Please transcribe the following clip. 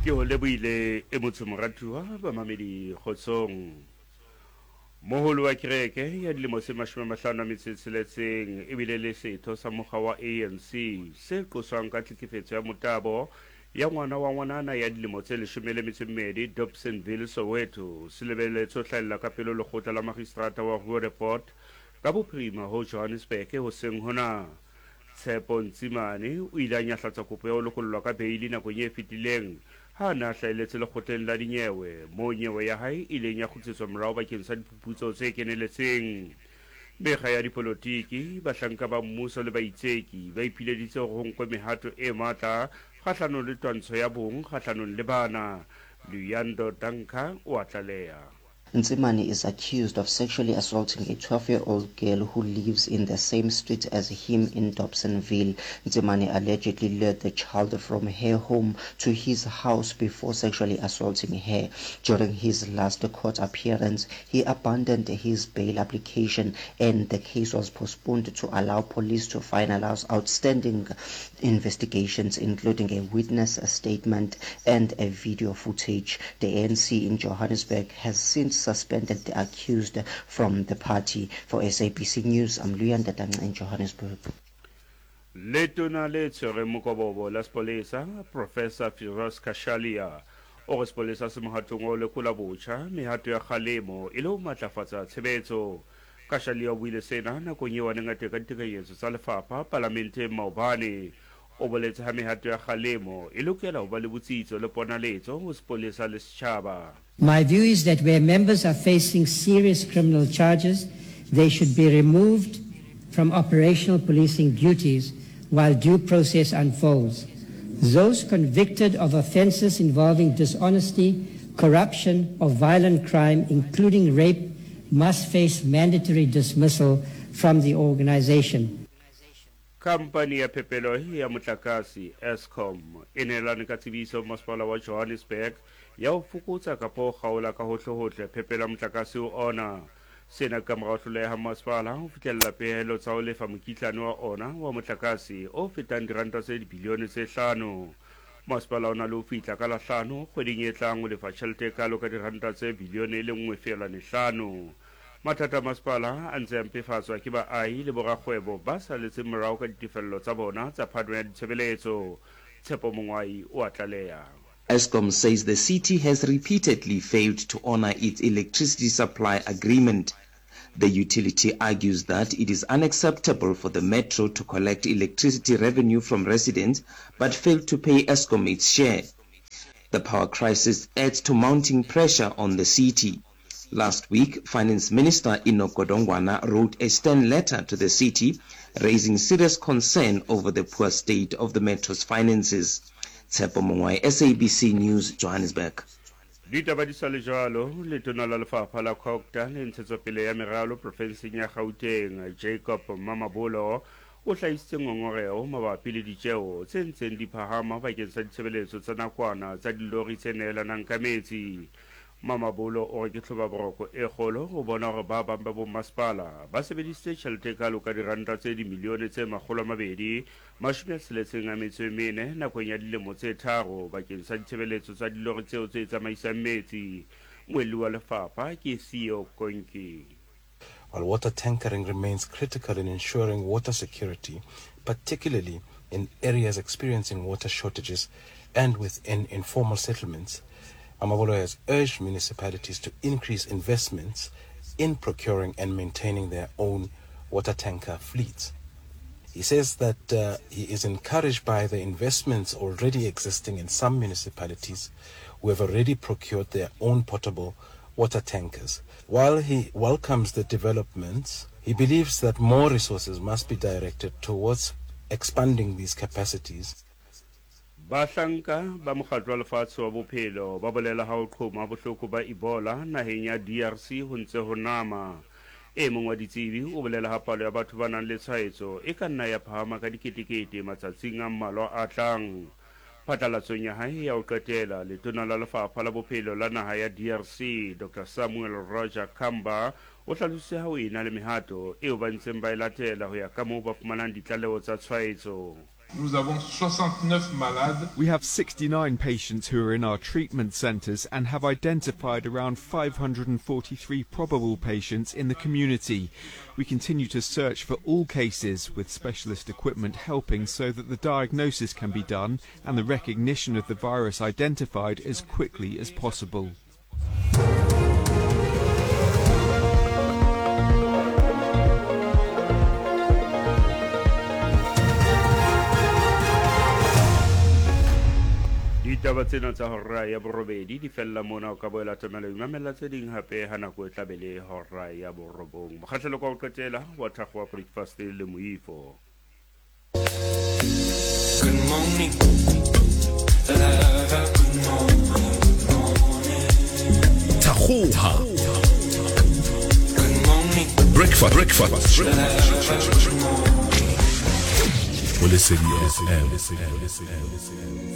Ke ho lebohile e motsho moratuwa bamamedi kgotsong. Moholo wa kereke ya dilemo tse 56 ebile le setho sa mokga wa ANC se qoswang ka tlhekefetso ya motabo ya ngwana wa ngwanana ya dilemo tse 12 Dobsonville, Soweto, se lebeletswe ho hlahella ka pele ho lekgotla la magistrata wa Roodepoort ka bophirima ho Johannesburg hoseng hona. Tshepo Ntsimane o ile a nyahlatsa kopo ya ho lokollwa ka beili nakong e fetileng ha a ne a hlahelletse lekgotleng la dinyewe moo nyewe ya hae e ileng ya kgutlisetswa morao bakeng sa diphuputso tse keneletseng. Mekga ya dipolotiki, bahlanka ba mmuso le baitseki ba ipileditse hore ho nkwe mehato e matla kgahlanong le twantsho ya bong kgahlanong le bana. Luyando Danka o a tlaleha. Ntsimane is accused of sexually assaulting a 12-year-old girl who lives in the same street as him in Dobsonville. Ntsimane allegedly lured the child from her home to his house before sexually assaulting her. During his last court appearance, he abandoned his bail application and the case was postponed to allow police to finalize outstanding investigations, including a witness statement and a video footage. The ANC in Johannesburg has since suspended the accused from the party. For SABC News, I'm Luyanda Danca in Johannesburg. Letona le tshwereng mokobobo la sepolesa, Professor Firoz Cachalia, o re sepolesa se mohatong wa ho lekola botjha mehato ya kgalemo e le ho matlafatsa tshebetso. Cachalia o buile sena nakong eo a neng a teka ditekanyetso tsa lefapha palamenteng maobane. O boletse ha mehato ya kgalemo e lokela ho ba le botsitso le ponaletso ho sepolesa le setjhaba. My view is that where members are facing serious criminal charges, they should be removed from operational policing duties while due process unfolds. Those convicted of offences involving dishonesty, corruption or violent crime, including rape, must face mandatory dismissal from the organisation. Khampani ya phepelo ya motlakase, Eskom, e neelane ka tsebiso ho Masepala wa Johannesburg ya ho fokotsa kapa ho kgaola ka hohlehohle phepelo ya motlakase ho ona. Sena ke kamora ho hloleha ha masepala ho fihlella pehelo tsa ho lefa mokitlane wa ona wa motlakase o fetang diranta tse dibilione tse hlano. Masepala o na le ho fihla ka la hlano kgweding e tlang ho lefa tjhelete e kalo ka diranta tse bilione e le nngwe feelwane hlano. Mathata a masepala a ntse a mpefatswa ke baahi le borakgwebo ba saletseng morao ka ditefello tsa bona tsa phano ya ditshebeletso. Tshepo Mongwai o a tlaleha. Eskom says the city has repeatedly failed to honor its electricity supply agreement. The utility argues that it is unacceptable for the metro to collect electricity revenue from residents but fail to pay Eskom its share. The power crisis adds to mounting pressure on the city. Last week, Finance Minister Enoch Godongwana wrote a stern letter to the city raising serious concern over the poor state of the metro's finances. Tshepo Mongwai, SABC News, Johannesburg. Ditaba di sa le jwalo, Letona la Lefapha la Cogta le Ntshetsopele ya Meralo profenseng ya Gauteng, Jacob Mamabolo, o hlahisitse ngongoreho mabapi le ditjeo tse ntseng di phahama bakeng sa ditshebeletso tsa nakwana tsa dilori tse nehelanang ka metsi. Mamabolo o re ke tlhobaboroko e kgolo ho bona hore ba bang ba bommasepala ba sebedisitse tjhelete e kalo ka diranta tse dimilione tse 264 nakong ya dilemo tse tharo bakeng sa ditshebeletso tsa dilori tseo tse tsamaisang metsi. Moelli wa lefapha ke Theo Konki. While water tankering remains critical in ensuring water security, particularly in areas experiencing water shortages and within informal settlements, Mamabolo has urged municipalities to increase investments in procuring and maintaining their own water tanker fleets. He says that uh, he is encouraged by the investments already existing in some municipalities who have already procured their own potable water tankers. While he welcomes the developments, he believes that more resources must be directed towards expanding these capacities. Bahlanka ba Mokgatlo wa Lefatshe wa Bophelo ba bolela ha ho qhoma bohloko ba Ebola naheng ya DRC ho ntse ho nama. E mong wa ditsebi o bolela ha palo ya batho ba nang le tshwaetso e ka nna ya phahama ka diketekete matsatsing a mmalwa a tlang. Phatlalatsong ya hae ya ho qetela, Letona la Lefapha la Bophelo la naha ya DRC, Doctor Samuel Roger Kamba, o hlalositse ha ho ena le mehato eo ba ntseng ba e latela ho ya kamoo ba fumanang ditlaleho tsa tshwaetso. Nous avons 69 malades. We have 69 patients who are in our treatment centres and have identified around 543 probable patients in the community. We continue to search for all cases with specialist equipment helping so that the diagnosis can be done and the recognition of the virus identified as quickly as possible. Ditaba tsena tsa hora ya borobedi di fella mona o ka boela tlamela imamella tse ding hape ha nako e tlabe le hora ya borobong. Mokgahlelo kwa ho qetela wa thakgo wa breakfast le moifo. Good morning, lover, good morning, morning. Thakgoha. Good morning, Breakfast breakfast. lover, good morning. Go Lesedi FM.